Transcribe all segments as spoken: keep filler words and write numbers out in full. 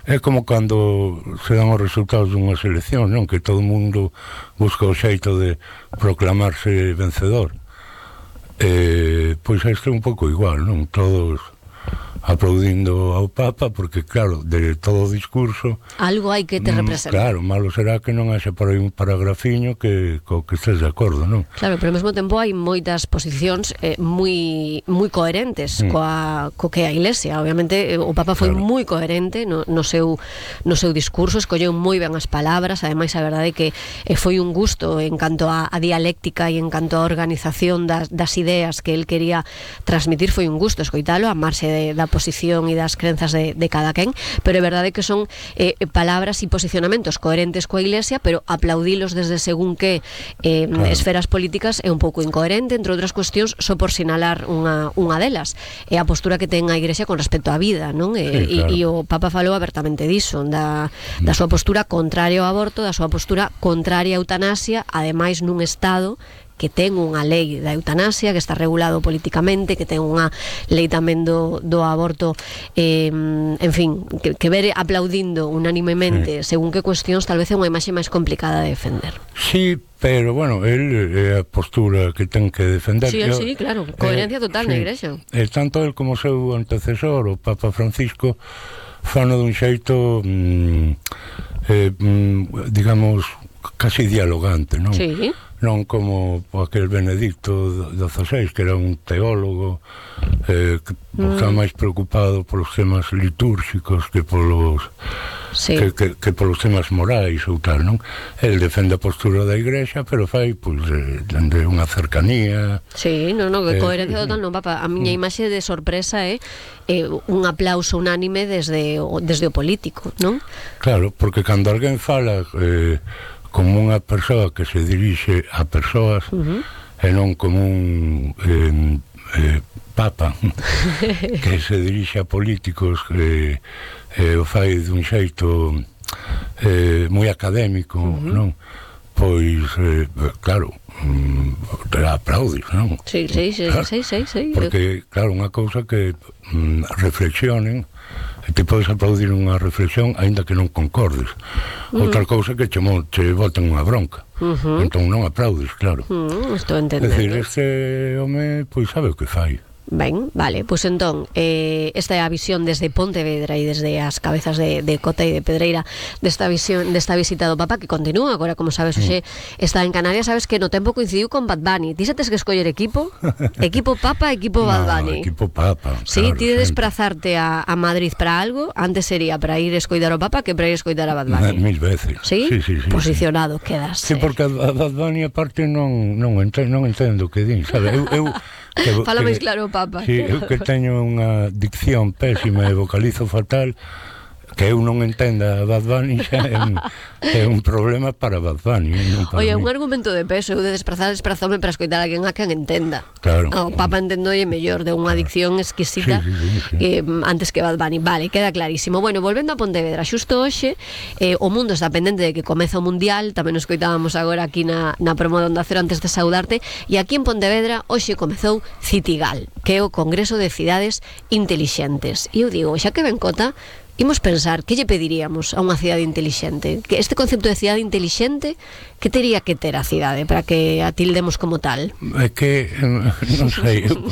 É como cando se dan os resultados dunha selección, non? Que todo o mundo busca o xeito de proclamarse vencedor. Eh, pois isto é un pouco igual, non? Todos aplaudindo ao Papa, porque claro, de todo o discurso algo hai que te representa. Claro, malo será que non haxe por aí un paragrafiño que co que estés de acordo, non? Claro, pero ao mesmo tempo hai moitas posicións eh, moi moi coherentes mm. coa co que a Iglesia. Obviamente o Papa foi claro. moi coherente no, no seu no seu discurso, escolleu moi ben as palabras, ademais a verdade é que eh, foi un gusto en canto a, a dialéctica e en canto a organización das, das ideas que el quería transmitir, foi un gusto escoitalo a marxe de, da posición e das crenzas de, de cada quen, pero é verdade que son eh, palabras e posicionamentos coherentes coa Iglesia, pero aplaudilos desde según que eh, claro. esferas políticas é un pouco incoherente, entre outras cuestións, só por sinalar unha, unha delas, é a postura que ten a Iglesia con respecto á vida, non? E, sí, claro. e, e o Papa falou abertamente diso, da, da súa postura contraria ao aborto, da súa postura contraria á eutanasia, ademais nun Estado que ten unha lei da eutanasia que está regulado políticamente, que ten unha lei tamén do, do aborto eh, en fin, que, que ver aplaudindo unánimemente sí. según que cuestións tal vez é unha imaxe máis complicada de defender. Sí, pero bueno, él é a postura que ten que defender. Sí, él, sí, claro, coherencia eh, total sí. na Igrexa. Eh, tanto él como o seu antecesor, o Papa Francisco, fano dun xeito mm, eh, mm, digamos casi dialogante, non? Sí. Non como aquel Benedicto dezasseis, que era un teólogo eh, que mm. estaba máis preocupado polos temas litúrxicos que polos sí. que, que, que polos temas morais ou tal, non? El defende a postura da Igrexa, pero fai, pois, eh, dende unha cercanía. Sí, non, non, que eh, coherencia total, non, Papa. A miña imaxe de sorpresa é eh, un aplauso unánime desde o, desde o político, non? Claro, porque cando alguén fala eh, como unha persoa que se dirixe a persoas uh-huh. e non como un eh, eh, papa que se dirixe a políticos que eh, o fai dun xeito eh, moi académico, uh-huh. non? Pois, eh, claro, mm, te aplaudes, non? Sí, sí, sí, claro, sí, sí, sí. Porque, claro, unha cousa que mm, reflexionen, te podes aplaudir unha reflexión aínda que non concordes. Uh-huh. Outra cousa que che, che boten unha bronca. Uh-huh. Entón non aplaudes, claro. Uh-huh. Estou entendendo. É dicir, este home, pois sabe o que fai. Ben, vale, pois pues entón eh, esta é a visión desde Pontevedra e desde as cabezas de, de Cota e de Pedreira desta visión, desta visita do Papa que continúa, agora como sabes, hoxe mm. está en Canarias. Sabes que no tempo coincidiu con Bad Bunny. Ti xa tes que escoller equipo? Equipo Papa, equipo Bad Bunny? No, equipo Papa, sí, claro, ti de desplazarte a, a Madrid para algo, antes sería para ir escoidar o Papa que para ir escoidar a Bad Bunny. Mil veces. Sí? Sí, sí, sí, posicionado, sí. quedas. Sí, porque a Bad Bunny aparte non, non, entendo, non entendo que din, sabe? Eu, eu Que, Fala máis claro, Papa. Sí, eu que teño unha dicción pésima e vocalizo fatal, que eu non entenda a Bad Bunny xa é un, é un problema para Bad Bunny. Oye, un argumento de peso, eu de desplazar desplazome para escoitar a quen a quen entenda. Claro. O Papa entendolle mellor de unha adicción exquisita sí, sí, sí, sí. Que, antes que Bad Bunny. Vale, queda clarísimo. Bueno, volvendo a Pontevedra, xusto hoxe eh, o mundo está pendente de que comeza o Mundial, tamén nos escoitábamos agora aquí na, na promo de Onda Cero antes de saudarte, e aquí en Pontevedra hoxe comezou Citigal, que é o Congreso de Cidades Intelixentes. E eu digo, xa que ven Cota, imos pensar, que lle pediríamos a unha cidade intelixente? Que este concepto de cidade intelixente, que tería que ter a cidade para que a tildemos como tal? É que, non sei, eu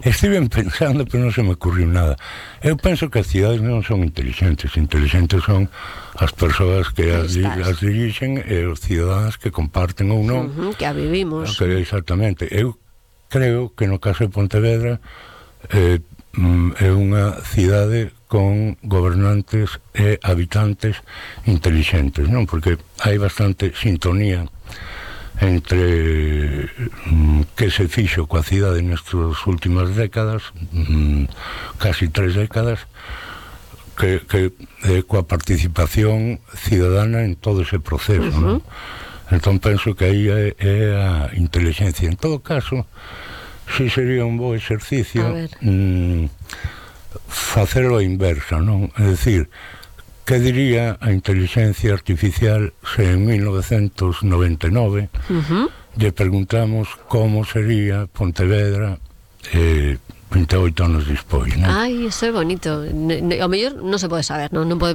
estive pensando, pero non se me ocurriu nada. Eu penso que as cidades non son intelixentes, intelixentes son as persoas que as, as dirixen e os cidadáns que comparten ou non. Uh-huh, que a vivimos. Que, exactamente. Eu creo que no caso de Pontevedra eh, é unha cidade con gobernantes e habitantes intelixentes, non? Porque hai bastante sintonía entre mm, que se fixo coa cidade nestas últimas décadas, mm, casi tres décadas, que, que eh, coa participación cidadana en todo ese proceso, uh-huh. non? Entón penso que aí é, é a inteligencia. En todo caso, si sería un bo exercicio mm, facelo a inversa, non? É dicir, que diría a inteligencia artificial se en mil novecentos noventa e nove uh-huh. lle preguntamos como sería Pontevedra eh, vinte e oito anos despois, non? Ai, iso é bonito. Ao mellor non se pode saber, non, non pode